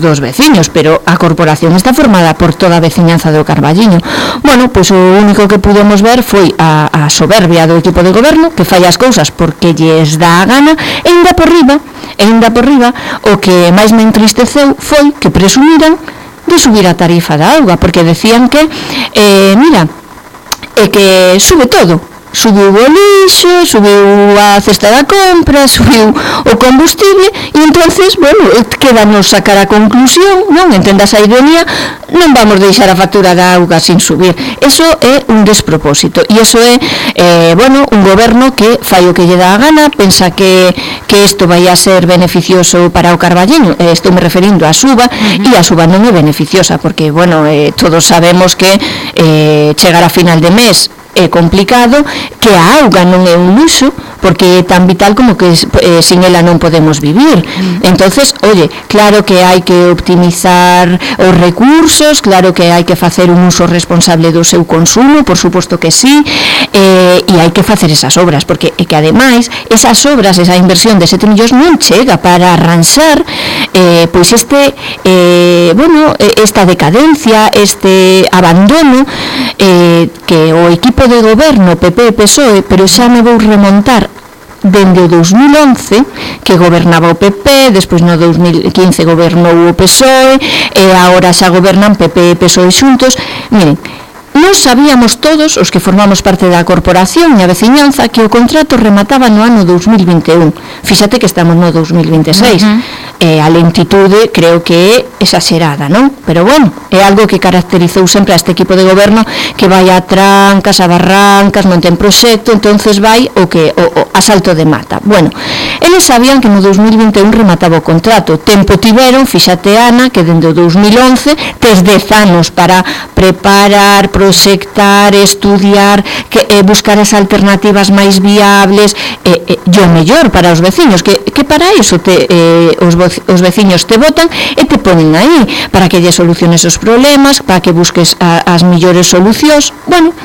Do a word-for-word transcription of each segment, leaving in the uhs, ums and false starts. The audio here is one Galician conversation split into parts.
dos veciños, pero a corporación está formada por toda a veciñanza do Carballiño. Bueno, pois o único que pudemos ver foi a, a soberbia do equipo de goberno, que fai as cousas porque lles dá a gana, e ainda por riba, e ainda por riba, o que máis me entristeceu foi que presumiran de subir a tarifa da auga, porque decían que, eh, mira, é que sube todo, subiu o lixo, subiu a cesta da compra, subiu o combustible, e entonces, bueno, quedanos sacar a conclusión, non? Entendas a ironía, non vamos deixar a factura da auga sin subir. Eso é un despropósito, e eso é, eh, bueno, un goberno que fai o que lle dá a gana, pensa que que isto vai a ser beneficioso para o Carballiño, eh, estou me referindo á suba, uh-huh. e a suba non é beneficiosa, porque, bueno, eh, todos sabemos que eh, chegar a final de mes é complicado, que a auga non é un luxo, porque é tan vital como que eh, sin ela non podemos vivir. Mm. Entonces, oye, claro que hai que optimizar os recursos, claro que hai que facer un uso responsable do seu consumo, por suposto que sí, eh, e hai que facer esas obras, porque é que ademais esas obras, esa inversión de sete millóns non chega para arranxar eh, pois este eh, bueno, esta decadencia, este abandono eh, que o equipo de goberno P P e P S O E, pero xa me vou remontar dende o dos mil once, que gobernaba o P P, despois no dos mil quince gobernou o P S O E, e agora xa gobernan P P e P S O E xuntos. Miren, nós sabíamos todos, os que formamos parte da corporación e a veciñanza, que o contrato remataba no ano dos mil vinte e un. Fíxate que estamos no dos mil vinte e seis. Uh-huh. Eh, a lentitude creo que é exagerada, non? Pero bueno, é algo que caracterizou sempre a este equipo de goberno, que vai a trancas, a barrancas, non ten proxecto, entonces vai o que o, o asalto de mata. Bueno, eles sabían que no dos mil vinte e un remataba o contrato. Tempo tiveron, fíxate Ana, que dende o dos mil once tes dez anos para preparar, proxectar, estudiar, que eh, buscar as alternativas máis viables, eh, eh, e o mellor para os veciños, que, que para iso te, eh, os, os veciños te votan e te ponen aí, para que lle soluciones os problemas, para que busques a, as millores solucións. Bueno,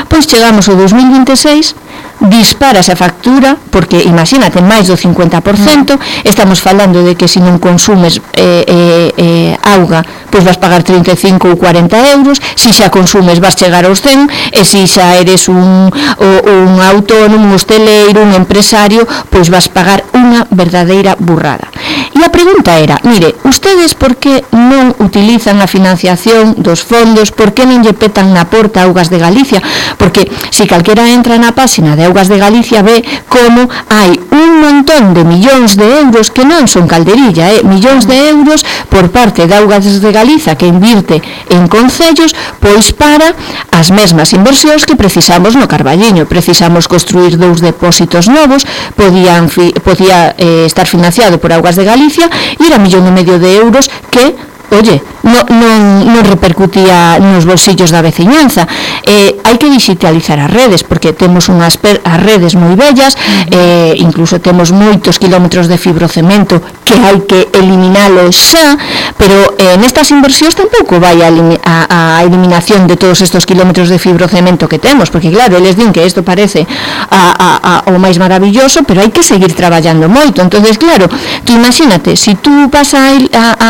pois chegamos ao dos mil vinte e seis, disparas a factura, porque imagínate, máis do cincuenta por cento, estamos falando de que se non consumes eh, eh, eh, auga, pois vas pagar trinta e cinco ou cuarenta euros, se xa consumes vas chegar aos cen, e se xa eres un, un autónomo, un hosteleiro, un empresario, pois vas pagar unha verdadeira burrada. E a pregunta era, mire, ustedes por que non utilizan a financiación dos fondos, por que non lle petan na porta Augas de Galicia? Porque se calquera entra na páxina de Augas de Galicia ve como hai un montón de millóns de euros que non son calderilla, eh? millóns de euros por parte de Augas de Galicia que invirte en concellos, pois para as mesmas inversións que precisamos no Carballiño. Precisamos construir dous depósitos novos, podían, podía eh, estar financiado por Augas de Galicia, e era millón e medio de euros que, oye, non, non, non repercutía nos bolsillos da veciñanza. Eh, hai que digitalizar as redes, porque temos unhas per, as redes moi bellas, eh, incluso temos moitos kilómetros de fibrocemento que hai que eliminalo xa, pero eh, nestas inversións tampouco vai a, a, a eliminación de todos estes kilómetros de fibrocemento que temos, porque claro, eles din que isto parece a, a, a, o máis maravilloso, pero hai que seguir traballando moito. Entonces, claro, tú imagínate, se si tú vas a, a, a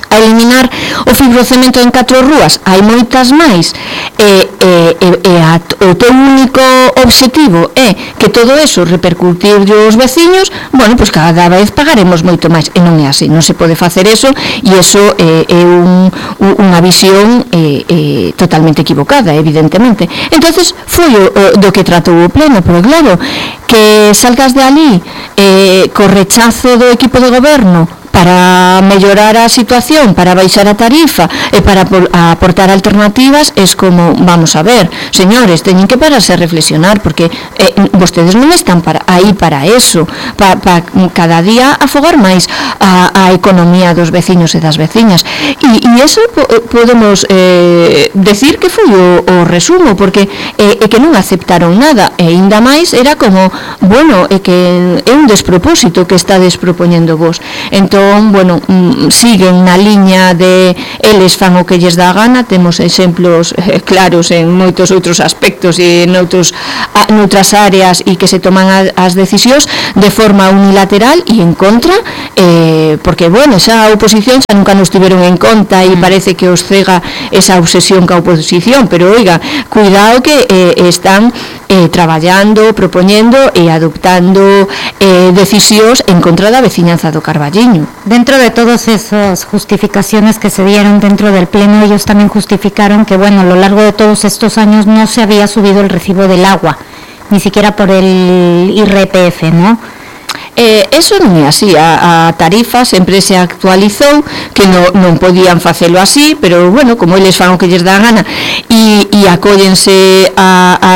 a eliminar o fibrocemento en catro rúas, hai moitas máis, e, e, e a, o teu único obxectivo é que todo eso repercutir os veciños, bueno, pois cada vez pagaremos moito máis, e non é así, non se pode facer eso, e eso é, é un, unha visión é, é, totalmente equivocada, evidentemente. Entonces foi o, o, do que tratou o pleno, pero claro, que salgas de ali eh, co rechazo do equipo de goberno para mellorar a situación, para baixar a tarifa e para aportar alternativas, es como, vamos a ver, señores, teñen que pararse a reflexionar, porque eh, vostedes non están para, aí para eso, para pa, cada día afogar máis a, a economía dos veciños e das veciñas, e, e eso po, podemos eh, decir que foi o, o resumo, porque eh, é que non aceptaron nada, e ainda máis era como, bueno, é que é un despropósito que está despropoñendo vos. Entón, bueno, siguen na liña de eles fan o que lles dá a gana. Temos exemplos eh, claros en moitos outros aspectos e en outros a, noutras áreas e que se toman a, as decisións de forma unilateral e en contra, eh, porque, bueno, esa oposición xa nunca nos tiveron en conta e parece que os cega esa obsesión ca oposición, pero, oiga, cuidado que eh, están eh, traballando, propoñendo e adoptando eh, decisións en contra da veciñanza do Carballiño. Dentro de todas esas justificaciones que se dieron dentro del pleno, ellos también justificaron que, bueno, a lo largo de todos estos años no se había subido el recibo del agua, ni siquiera por el I R P F, ¿no? Eh, eso non é así, a, a tarifa sempre se actualizou, que no, non podían facelo así, pero, bueno, como eles fan o que lles dá a gana e, e acóllense a, a,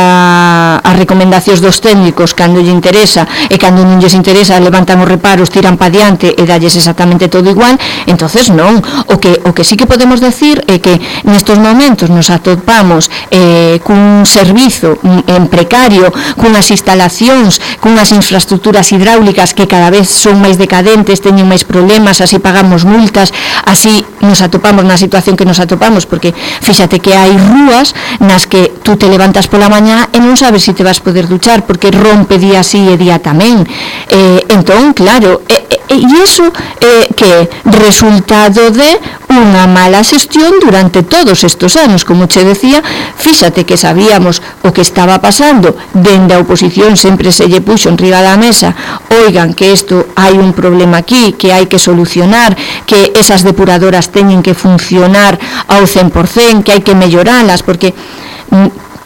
a recomendacións dos técnicos cando lle interesa, e cando non lles interesa levantan os reparos, tiran pa diante e dalles exactamente todo igual, entonces non. O que, o que sí que podemos decir é que nestos momentos nos atopamos eh, cun servizo en precario, cunhas instalacións, cunhas infraestructuras hidráulicas que cada vez son máis decadentes, teñen máis problemas, así pagamos multas, así nos atopamos na situación que nos atopamos, porque fíxate que hai rúas nas que tú te levantas pola mañá e non sabes se te vas poder duchar, porque rompe día sí e día tamén. Eh, entón, claro, e, e, e iso eh, que resultado de unha mala xestión durante todos estes anos, como che decía, fíxate que sabíamos o que estaba pasando, dende a oposición sempre se lle puxo en riba da mesa, oigan que isto hai un problema aquí, que hai que solucionar, que esas depuradoras teñen que funcionar ao cen por cen, que hai que melloralas, porque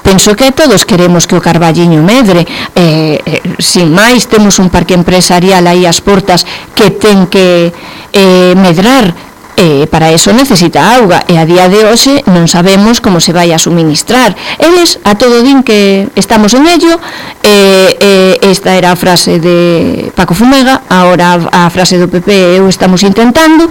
penso que todos queremos que o Carballiño medre, eh, eh, sin máis temos un parque empresarial aí ás portas que ten que eh, medrar, e para eso necesita auga, e a día de hoxe non sabemos como se vai a suministrar. Eles a todo din que estamos en ello, e, e esta era a frase de Paco Fumega, agora a, a frase do P P eu estamos intentando,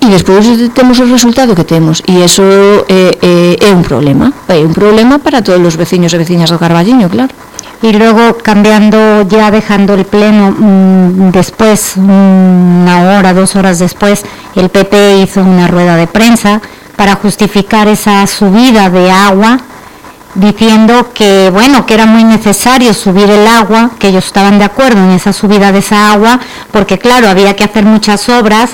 e despois temos o resultado que temos, e eso é, é, é un problema, é un problema para todos os veciños e veciñas do Carballiño, claro. Y luego, cambiando, ya dejando el pleno, mmm, después, una hora, dos horas después, el P P hizo una rueda de prensa para justificar esa subida de agua, diciendo que, bueno, que era muy necesario subir el agua, que ellos estaban de acuerdo en esa subida de esa agua, porque, claro, había que hacer muchas obras,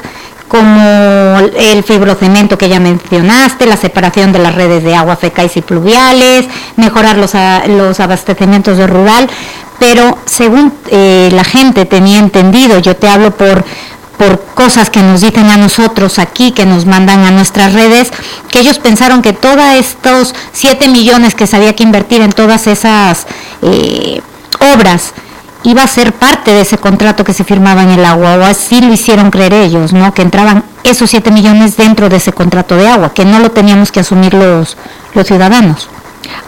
como el fibrocemento que ya mencionaste, la separación de las redes de agua fecales y pluviales, mejorar los, a, los abastecimientos de rural, pero según eh, la gente tenía entendido, yo te hablo por, por cosas que nos dicen a nosotros aquí, que nos mandan a nuestras redes, que ellos pensaron que todos estos siete millones que se había que invertir en todas esas eh, obras, iba a ser parte de ese contrato que se firmaba en el agua, o así lo hicieron creer ellos, ¿no? Que entraban esos siete millones dentro de ese contrato de agua, que no lo teníamos que asumir los, los ciudadanos.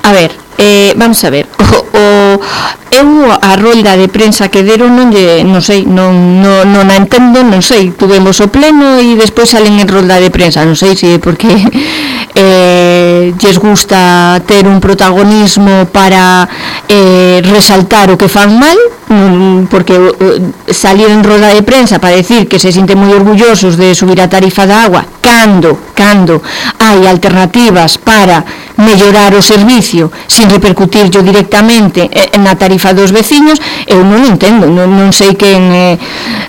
A ver, eh, vamos a ver, o, o, eu a rolda de prensa que deron non lle, non sei, non, non, non a entendo, non sei, tuvemos o pleno e despois salen en rolda de prensa, non sei se porque eh, lles gusta ter un protagonismo para eh, resaltar o que fan mal, porque eh, salir en rolda de prensa para decir que se sienten moi orgullosos de subir a tarifa da agua, cando, cando hai alternativas para mellorar o servicio sin repercutir yo directamente na tarifa dos veciños, eu non entendo, non, non sei quen eh,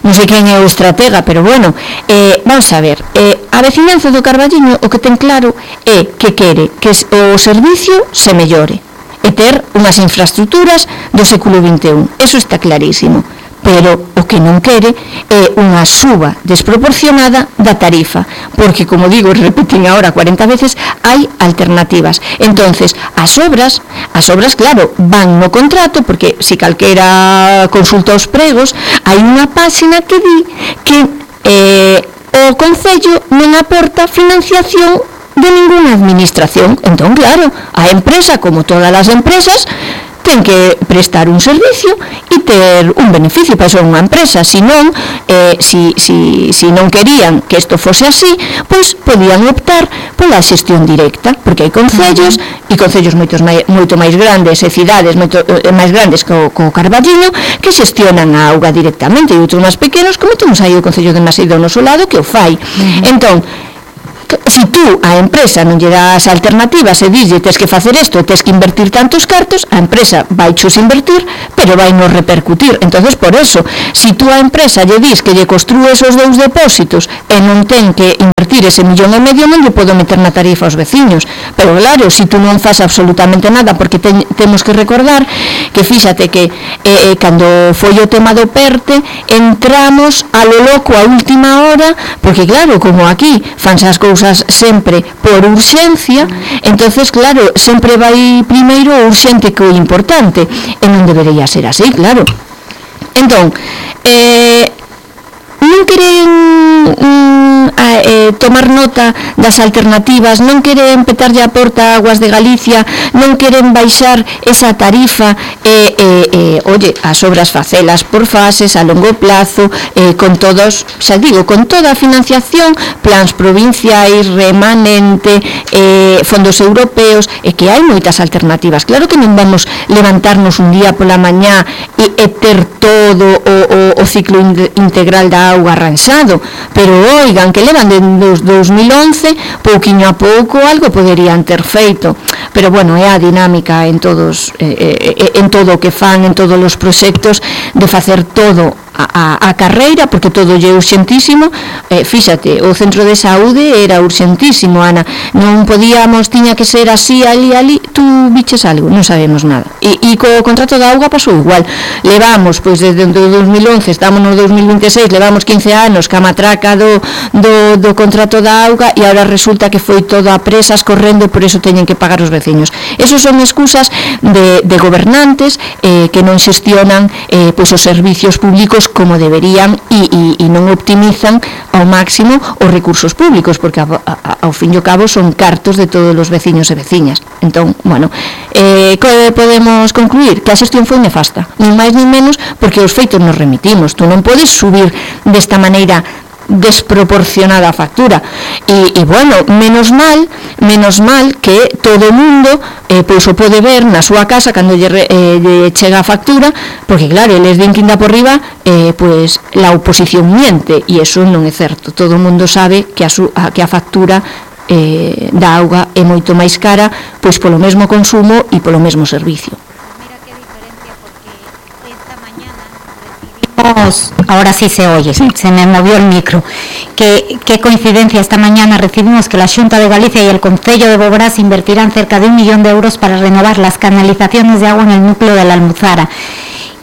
non sei quen é o estratega, pero bueno, eh, vamos a ver, eh, a veciñanza do Carballiño o que ten claro é que quere que o servicio se mellore e ter unhas infraestructuras do século vinte e un, eso está clarísimo, pero o que non quere é unha suba desproporcionada da tarifa, porque, como digo, repetín agora cuarenta veces, hai alternativas. Entonces, as obras, as obras, claro, van no contrato, porque se calquera consulta os pregos, hai unha páxina que di que eh, o Concello non aporta financiación de ninguna administración. Entón, claro, a empresa, como todas as empresas, ten que prestar un servicio e ter un beneficio para eso unha empresa, si non, eh, si, si, si non querían que isto fose así, pois podían optar pola xestión directa, porque hai concellos, uh-huh. e concellos moitos mai, moito máis grandes, e cidades moito eh, máis grandes co, co Carballiño, que xestionan a auga directamente, e outros máis pequenos, como temos aí o concello de Maside ao noso lado, que o fai. Uh-huh. Entón, Se tú a empresa non lle das alternativas e dille tes que facer isto e tes que invertir tantos cartos, a empresa vai chos invertir, pero vai non repercutir. Entonces, por eso, se tú a empresa lle dis que lle construes os dous depósitos e non ten que invertir ese millón e medio, non lle podo meter na tarifa aos veciños. Pero claro, se tú non faz absolutamente nada, porque ten, temos que recordar que fíxate que eh, cando foi o tema do PERTE entramos a lo loco a última hora, porque claro, como aquí fanse as cousas sempre por urxencia, entonces claro, sempre vai primeiro o urxente que o importante, e non debería ser así, claro. Entón, eh, non queren mm, a, eh, tomar nota das alternativas, non queren petarlle a porta a Aguas de Galicia, non queren baixar esa tarifa, e, eh, eh, oye, as obras facelas por fases, a longo plazo, eh, con todos, xa digo, con toda a financiación, plans provinciais, remanente, eh, fondos europeos, e que hai moitas alternativas. Claro que non vamos levantarnos un día pola mañá e, e ter todo o, o, o ciclo integral da auga arranxado, pero oigan, que levan de dos mil once, pouquiño a pouco algo poderían ter feito, pero bueno, é a dinámica en todos, eh, eh, en todo o que fan, en todos os proxectos, de facer todo a, a, a carreira, porque todo lle é urxentísimo. Eh, fíxate, o centro de saúde era urxentísimo, Ana, non podíamos, tiña que ser así, ali, ali, tú biches algo, non sabemos nada, e, e co contrato da auga pasou igual, levamos, pois desde o dos mil once, estamos no dos mil vinte e seis, levamos quince anos ca matraca do, do, do contrato da auga, e agora resulta que foi todo a presas correndo, por eso teñen que pagar os veciños. Esos son excusas de, de gobernantes eh, que non xestionan eh, pois os servicios públicos como deberían, e, e, e non optimizan ao máximo os recursos públicos, porque a, a, ao fin e ao cabo son cartos de todos os veciños e veciñas. Entón, bueno, eh, que podemos concluir? Que a xestión foi nefasta, nin máis nin menos, porque os feitos nos remitimos. Tú non podes subir desta maneira desproporcionada a factura, e, e bueno, menos mal menos mal que todo o mundo eh, pois o pode ver na súa casa cando lle, eh, lle chega a factura, porque claro, eles din que inda por riba, eh, pois la oposición miente, e eso non é certo. Todo o mundo sabe que a, su, a, que a factura eh, da auga é moito máis cara, pois polo mesmo consumo e polo mesmo servicio. Ahora sí se oye, sí. Se me movió el micro. Qué, qué coincidencia, esta mañana recibimos que la Xunta de Galicia y el Concello de Boborás invertirán cerca de un millón de euros para renovar las canalizaciones de agua en el núcleo de la Almuzara.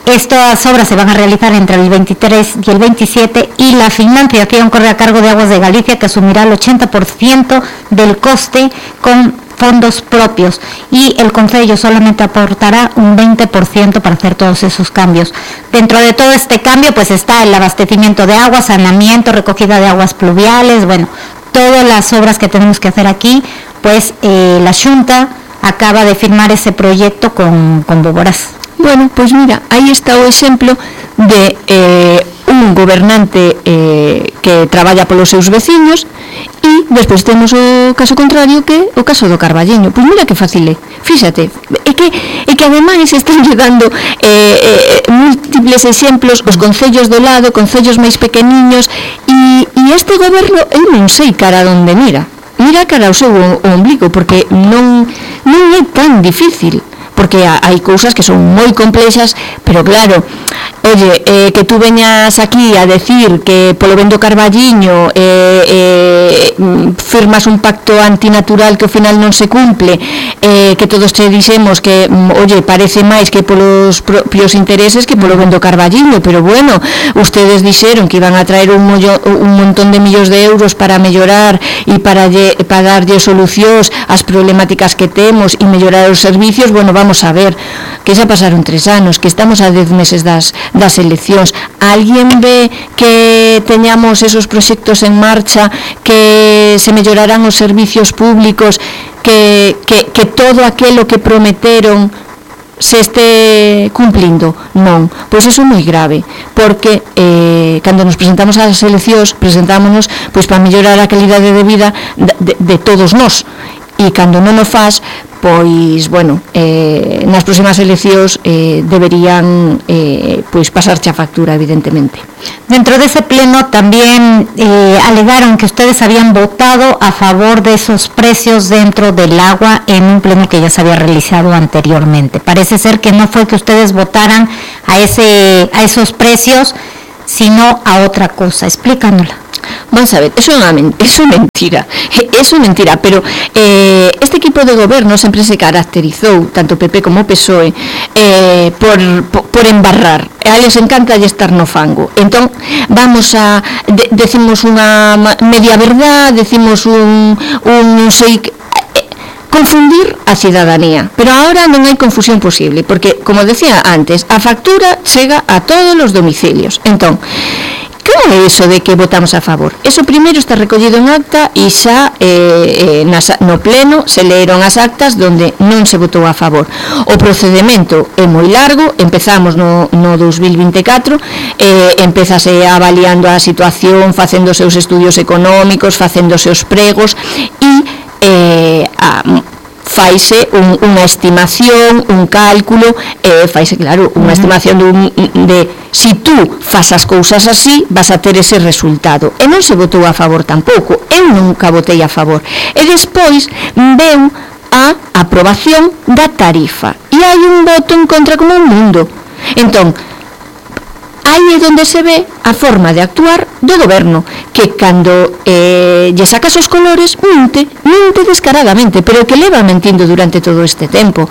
Estas obras se van a realizar entre el veintitrés y el veintisiete, y la financiación corre a cargo de Aguas de Galicia, que asumirá el ochenta por ciento del coste con fondos propios, y el Concello solamente aportará un veinte por ciento para hacer todos esos cambios. Dentro de todo este cambio pues está el abastecimiento de agua, saneamiento, recogida de aguas pluviales, bueno, todas las obras que tenemos que hacer aquí, pues eh, la Xunta acaba de firmar ese proyecto con, con Boborás. Bueno, pois mira, aí está o exemplo de eh, un gobernante eh, que traballa polos seus veciños, e despois temos o caso contrario, que o caso do Carballiño. Pois mira que fácil é, fíxate, é que, é que ademais están dando eh, eh, múltiples exemplos, os concellos do lado, concellos máis pequeniños, e, e este goberno, eu non sei cara onde mira, mira cara ao seu ombligo, porque non, non é tan difícil, porque hai cousas que son moi complexas, pero claro, oye, eh, que tú veñas aquí a decir que polo ben do Carballiño eh, eh, firmas un pacto antinatural que ao final non se cumple, eh, que todos te dixemos que, oye, parece máis que polos propios intereses que polo ben do Carballiño, pero bueno, ustedes dixeron que iban a traer un, mollo, un montón de millóns de euros para mellorar e para, lle, para darlle solucións ás problemáticas que temos e mellorar os servicios. Bueno, vamos a ver, que xa pasaron tres anos, que estamos a dez meses das, das eleccións. Alguén ve que teñamos esos proxectos en marcha, que se mellorarán os servicios públicos, que, que, que todo aquilo que prometeron se este cumplindo? Non, pois iso é moi grave, porque eh, cando nos presentamos ás eleccións, presentámonos pois para mellorar a calidade de vida de, de, de todos nós, e cando non o faz, pois, bueno, eh, nas próximas eleccións eh, deberían eh, pois pasarche a factura, evidentemente. Dentro de ese pleno también eh, alegaron que ustedes habían votado a favor de esos precios dentro del agua en un pleno que ya se había realizado anteriormente. Parece ser que no fue que ustedes votaran a, ese, a esos precios, sino a otra cosa. Explícanosla. Vamos a ver, eso é unha eso é mentira, eso é mentira, pero eh, este equipo de goberno sempre se caracterizou, tanto P P como P S O E, eh, por, por, por embarrar. A eles encanta estar no fango. Entón, vamos a, de, decimos unha media verdad, decimos un, un non sei, eh, confundir a cidadanía, pero ahora non hai confusión posible, porque, como decía antes, a factura chega a todos os domicilios. Entón, como é iso de que votamos a favor? Eso primeiro está recollido en acta e xa eh, eh, nas, no pleno se leeron as actas donde non se votou a favor. O procedimento é moi largo, empezamos no, no dos mil vinte e catro, eh, empezase avaliando a situación, facendo os seus estudios económicos, facendo os seus pregos e eh, a, faise un, unha estimación, un cálculo, eh, faise, claro, unha estimación de, un, de si tú fas as cousas así, vas a ter ese resultado. E non se votou a favor tampouco, eu nunca votei a favor. E despois veu a aprobación da tarifa. E hai un voto en contra como un mundo. Entón, aí é onde se ve a forma de actuar do goberno, que cando eh, lle sacas os colores mente, mente descaradamente, pero que leva mentindo durante todo este tempo.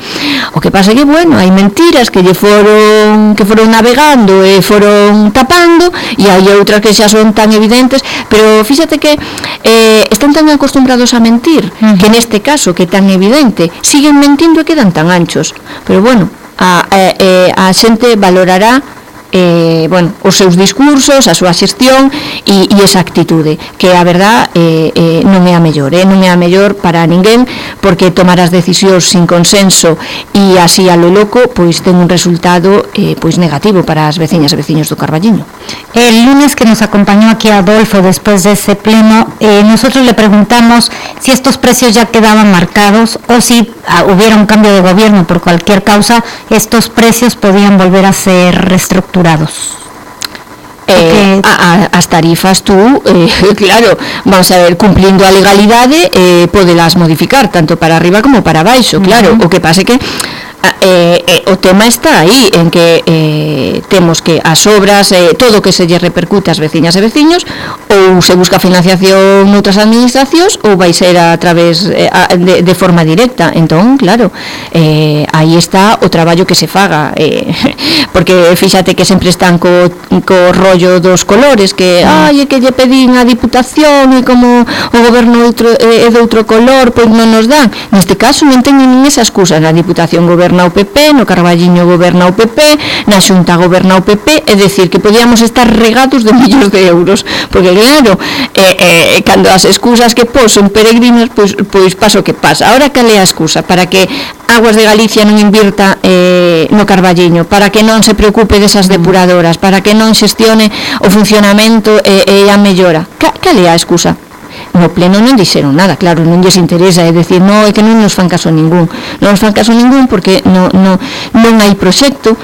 O que pasa é que, bueno, hai mentiras que lle foron que foron navegando e foron tapando, e hai outras que xa son tan evidentes, pero fíxate que eh, están tan acostumbrados a mentir, uh-huh. que neste caso, que é tan evidente, siguen mentindo e quedan tan anchos. Pero bueno, a, a, a xente valorará Eh, bueno, os seus discursos, a súa xestión e, e esa actitude, que a verdad eh, eh, non é a mellor, eh, non é a mellor para ninguén, porque tomar as decisións sin consenso e así a lo loco, pois ten un resultado eh, pois negativo para as veciñas e veciños do Carballiño. El lunes que nos acompañó aquí Adolfo después de ese pleno, eh, nosotros le preguntamos si estos precios ya quedaban marcados o si ah, hubiera un cambio de gobierno por cualquier causa, estos precios podían volver a ser reestructurados. Eh, a, a, as tarifas tú, eh, claro, vamos a ver, cumplindo a legalidade, eh, podelas modificar tanto para arriba como para baixo, claro. Uh-huh. O que pasa é que Eh, eh, o tema está aí, en que eh, temos que as obras, eh, todo o que se lle repercute ás veciñas e veciños, ou se busca financiación noutras administracións, ou vai ser a través eh, a, de, de forma directa. Entón, claro, eh, aí está o traballo que se faga, eh, porque fíxate que sempre están co, co rollo dos colores, que ai, é que lle pedín a Diputación e como o goberno outro, eh, é de outro color, pois non nos dan. Neste caso non teñen nin esa excusa. Na Diputación goberna o P P, no Carballiño goberna o P P, na Xunta goberna o P P, é dicir, que podíamos estar regados de millóns de euros, porque claro, eh, eh, cando as excusas que pos son peregrinas, pois, pois pasa o que pasa. Ahora cal é a excusa? Para que Aguas de Galicia non invirta eh, no Carballiño, para que non se preocupe desas depuradoras, para que non xestione o funcionamento e, e a mellora. Cal é a excusa? No pleno non dixeron nada, claro, non lles interesa, é dicir, non, é que non nos fan caso ningún, non nos fan caso ningún porque non, non, non hai proxecto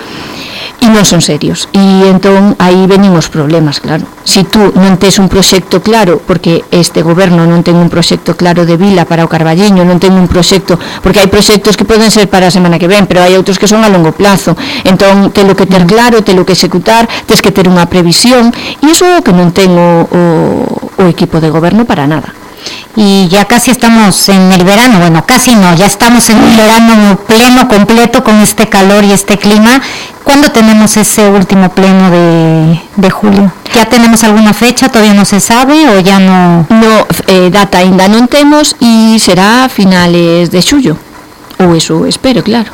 e non son serios, e entón aí venimos problemas, claro. Si tú non tes un proxecto claro, porque este goberno non ten un proxecto claro de vila para o Carballiño, non ten un proxecto, porque hai proxectos que poden ser para a semana que ven, pero hai outros que son a longo plazo, entón telo que ter claro, telo que executar, tes que ter unha previsión, e iso é o que non ten o, o, o equipo de goberno para nada. Y ya casi estamos en el verano, bueno, casi no, ya estamos en un verano pleno, completo, con este calor y este clima. ¿Cuándo tenemos ese último pleno de, de julio? ¿Ya tenemos alguna fecha? ¿Todavía no se sabe o ya no? No, eh, data ainda non temos e será a finales de xullo, ou eso espero, claro.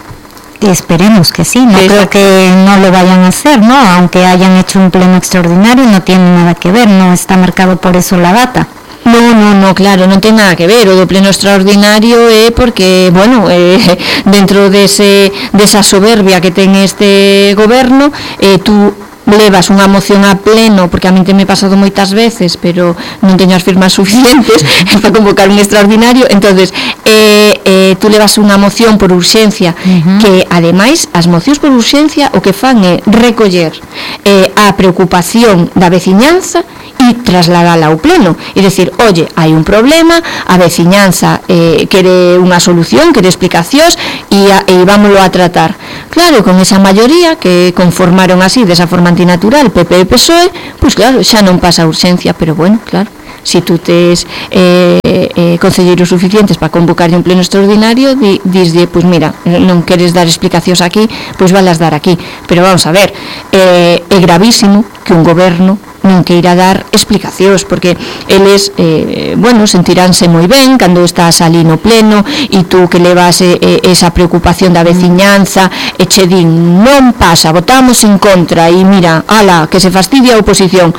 Esperemos que sí, no Exacto. Creo que no lo vayan a hacer, ¿no? Aunque hayan hecho un pleno extraordinario, no tiene nada que ver, no está marcado por eso la data. No, no, no, claro, non ten nada que ver. O do pleno extraordinario é porque, bueno, eh, dentro dese, desa soberbia que ten este goberno, eh, tú levas unha moción a pleno, porque a mí te me he pasado moitas veces, pero non teño as firmas suficientes para convocar un extraordinario, entonces eh, eh, tú levas unha moción por urxencia, uh-huh. que ademais as mocións por urxencia o que fan é recoller eh, a preocupación da veciñanza e trasladala ao pleno, e decir, oye, hai un problema, a veciñanza eh, quere unha solución, quere explicacións e, a, e vámoslo a tratar. Claro, con esa maioría que conformaron así, desa forma antinatural, P P e P S O E, pois claro, xa non pasa a urxencia, pero bueno, claro, si tú tes eh, eh, concelleiros suficientes para convocarlle un pleno extraordinario, di, disde, pois mira, non queres dar explicacións aquí, pois valas dar aquí, pero vamos a ver, eh, é gravísimo que un goberno non queira dar explicacións, porque eles, eh, bueno, sentiránse moi ben cando estás ali no pleno e tú que levas eh, esa preocupación da veciñanza e che din, non pasa, votamos en contra e mira, ala, que se fastidia a oposición.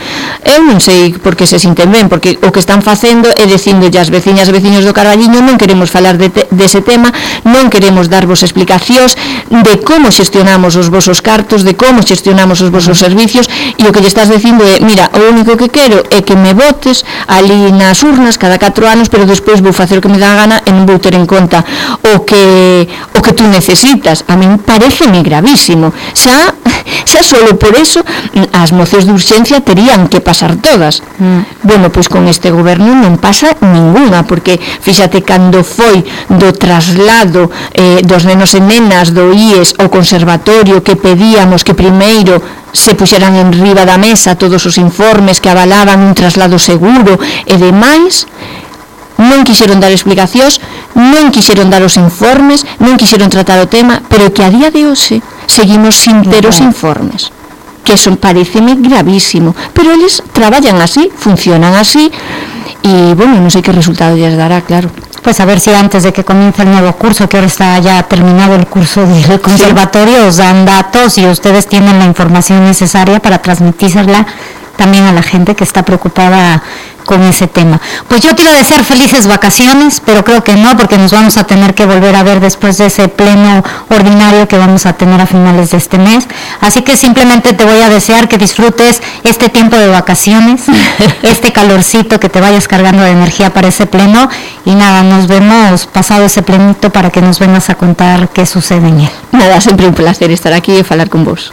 Eu non sei por que se sinten ben, porque o que están facendo é dicindolle as veciñas e veciños do Carballiño, non queremos falar de te, dese tema, non queremos darvos explicacións de como xestionamos os vosos cartos, de como xestionamos os vosos servicios, e o que lle estás dicindo é, mira, o único que quero é que me votes ali nas urnas cada catro anos, pero despois vou facer o que me dá a gana e non vou ter en conta o que o que tú necesitas. A min pareceme gravísimo. Xa, xa solo por eso as mocións de urxencia terían que pasar todas. Mm. Bueno, pois con este goberno non pasa ninguna, porque fíxate cando foi do traslado eh, dos nenos e nenas do I E S ao conservatorio, que pedíamos que primeiro se puxeran en riba da mesa todos os informes que avalaban un traslado seguro e demais, non quixeron dar explicacións, non quixeron dar os informes, non quixeron tratar o tema, pero que a día de hoxe seguimos sin ter os informes, que son, pareceme gravísimo, pero eles traballan así, funcionan así, e, bueno, non sei que resultado lles dará, claro. Pues a ver si antes de que comience el nuevo curso, que ahora está ya terminado el curso del conservatorio, os dan datos y ustedes tienen la información necesaria para transmitírsela también a la gente que está preocupada con ese tema. Pues yo te iba a desear felices vacaciones, pero creo que no, porque nos vamos a tener que volver a ver después de ese pleno ordinario que vamos a tener a finales de este mes. Así que simplemente te voy a desear que disfrutes este tiempo de vacaciones, este calorcito, que te vayas cargando de energía para ese pleno, y nada, nos vemos pasado ese plenito para que nos vengas a contar qué sucede en él. Nada, sempre un placer estar aquí e falar con vos.